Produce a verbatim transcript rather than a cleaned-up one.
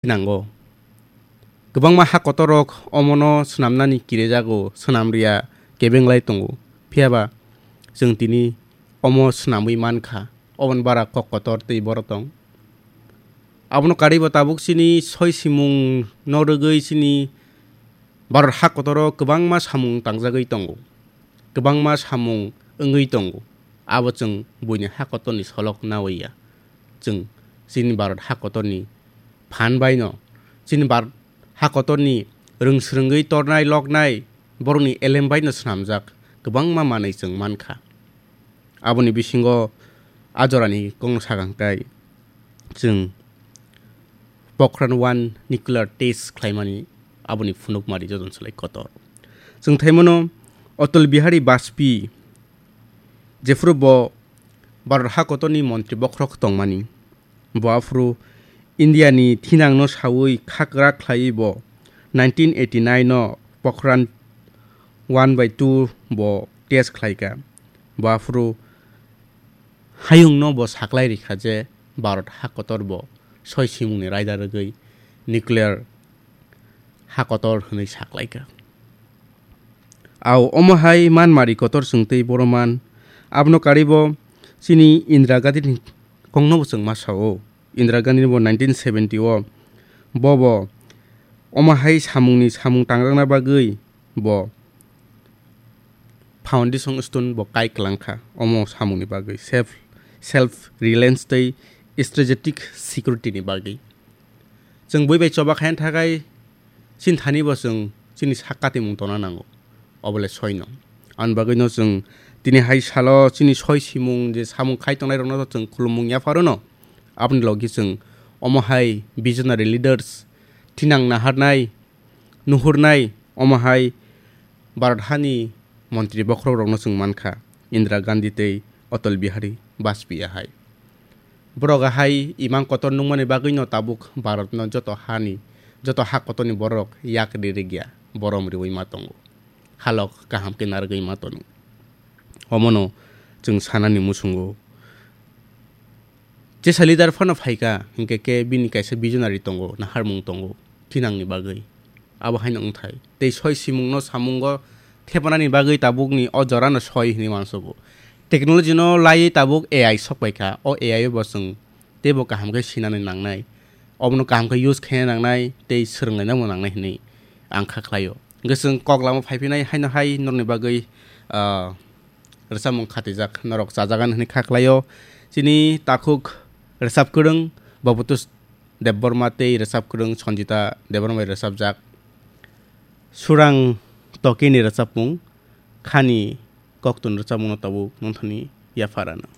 nango. Kwbangma ha kotorrok omono swnamnani kirijago, swnam riya kebenglai tongo. Phiyaba chwng tini omo swnamwi mankha, oboni bara kok kotor tei borok tong. Abono karwibo tabuk chini soi simungno rwgwi chini Bharat ha kotoro kwbangma samung tangjagwi tongo, kwbangma samung wngwi tongo. Abo chwng buini ha kotorni solok nawi ya. Chwng chini Bharat ha kotorni phan baino, chini Bharat ha kotorni rwng swrwngwi tornai loknai borokni elem baino swnamjak kwbangma manwi chwng mankha. Aboni bisingo a jorani kokno sakang tai chwng Pokhran one nuclear test khlaimani aboni phunukmari joton swlai kotor. Chwng thaimano Atal Bihari Bajpayee, jephuru bo Bharat ha kotorni montri bokhorok tongmani, bo aphuru India ni thinangno sawi khakra khlaiwi bo nineteen eighty-nine no Pokhran one by two bo test khlaika. Bo aphuru hayungno bo saklai rikha je Bharat ha kotor bo soi simungni raida rwgwi nuclear ha kotor hwnwi saklaika. Au omo hai manmari kotor chwng tei boro man. Abono karwi bo chini Indira Gandhi ni kokno bo chwng ma sao. Indira Gandhi ni bo nineteen seventy o bo bo omo hai samungni samung tangjakna bagwi bo foundation stone bo kai kwlangkha omo samungni bagwi, self, self reliance tei strategic security ni bagwi. Chwng bui bai choba khaina thakai chini thani bo chwng chini sak katimung tongna nango, obole soino. Ani bagwino chwng tini hai salo chini soi simung je samung khai tongnai rokno chwng khulumung yapharono. Aboni logi chwng omo hai visionary leaders thinang naharnai, nuhurnai omo hai Bharat hani montri bokhorok rokno chwng mankha, Indira Gandhi tei Atal Bihari Bajpayee hai. Borok hai imang kotor nungmani bagwino tabuk Bharatno joto hani, joto ha kotorni borok yak ri rigya, borom riwi ma tongo. Halok kaham khe narwgwi ma tono. Omono chwng sanani muchungo. Jesa leader phano phaikha, hinkhe khe bini kaisa visionary tongo, naharmung tongo, thinangni bagwi. Abo haino wngthai. Tei soi simungno samungo thepanani bagwi tabukni o jorano soi hinwi mansugo. Technology no laiwi tabuk A I sokpaikha. O A I o bo chwng teibo kaham khe sinani nangnai. Obono kaham khe use khaina nangnai tei swrwnglainabo nangnai hinwi ang kha khlaio. Hwnkhe chwng kok lama phaiphinai haino hai norokni bagwi, ah, rwchapmung khatijak, norok chajagan hwnwi kha khlaio. Chini takhuk rwchapkwrwng Bhabatus Debbarma tei rwchapkwrwng Sanjita Debbarma bai rwchapjak Surang Tokini rwchapmung Khani Koktun rwchapmungno tabuk nongthani yapharano.